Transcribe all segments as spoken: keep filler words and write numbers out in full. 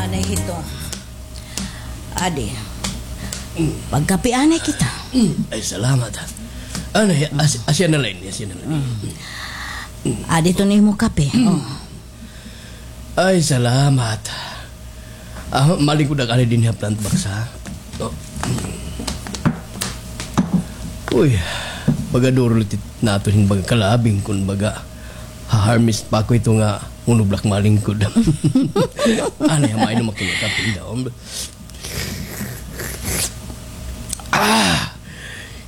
Anay hito. Adi. Pagkape anay kita. Ay, salamat, ha. Anay, as-, asya na la ini, asya na la ini. Adi ito an imo kape. Oh. Ay, salamat. Ah, malingkod ak anay dinhi ha plant box, ha? Oh. Uy, baga duro liwat naton hin baga kalabing kon baga ha-harvest pa ako hito nga hunobla ak malingkod. Anay, ha, mainom ak hin kape daw. Ah!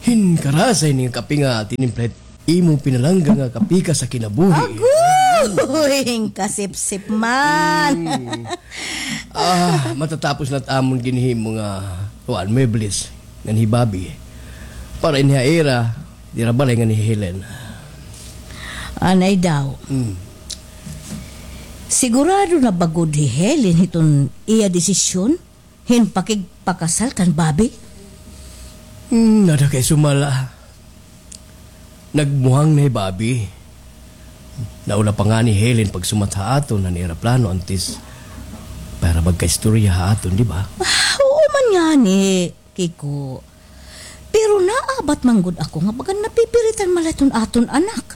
Hin karasa ini nga kape nga tinimpla hit imo pinalangga nga kapikas ha kinabuhi. Agoy! Kasipsip man. Hmm. Ah, matatapos na it amon ginhimo nga kuan, muebles ngan hi Bobby. Para ini ha ira, dira balay ngan hi Helen. Anay daw. Hmm. Sigurado na ba gud hi Helen hiton iya desisyon hin pakigpakasal kan Bobby? Hmm, nada kay sumala. Nagmuhang na hi Bobby. Nauna pa ngani hi Helen pagsumat ha aton han ira plano antes pa hira magkaistorya ha aton, di ba? Ah, oo man ngani, Kiko. Pero naabat man gud ako nga baga napipiritan man la iton aton anak.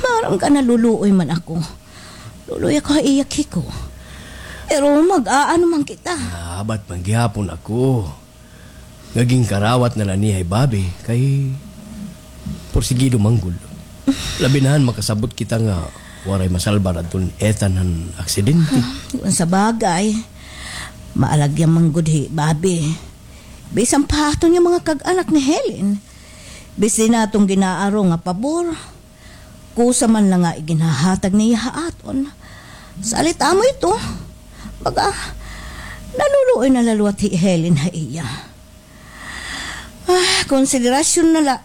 Maaram ka, naluluoy man ako. Luloy ako ha iya, Kiko. Pero mag-aano man kita. Naabat man gihapon ako nga ginkarawat na la niya hi Bobby kay porsigido man gud. Labi na han makasabot kita nga waray masalbar adton Ethan han aksidente. Ah, kun sa bagay, maalagya man gud hi Bobby. Bisan pa ha aton nga mga kag-anak ni Helen. Bisan ha aton gin-aaro nga pabor. Kusa man la nga iginhahatag niya ha aton. Salit amo ito. Baga, naluluoy na la liwat hi Helen ha iya. Ah, konsiderasyon na la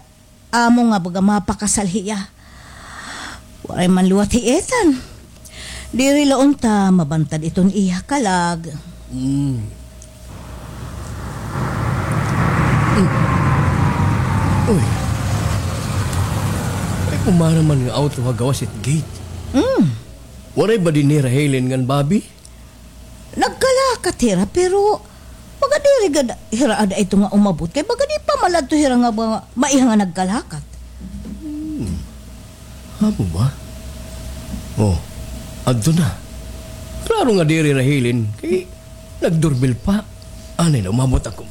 amo nga baga mapakasal hiya. Waray man liwat hi Ethan. Diri la unta mabantad iton iya kalag. Mm. Mm. Uy. May pumara man nga auto ha gawas it gate. Mm. Waray ba dinhi hira Helen ngan Bobby? Nagkalakat hira, pero baga diri gad hira ada ito nga umabot. Kay baga di pa man la adto hira nga ba-, maiha nga nagkalakat. Hmm. Amo ba? Oh, adto na. Klaro nga diri hira Helen. Kay nagdoorbell pa. Anay na, umabot ako.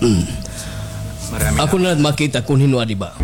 Hmm. Ako na la makita kon hin-o adi ba.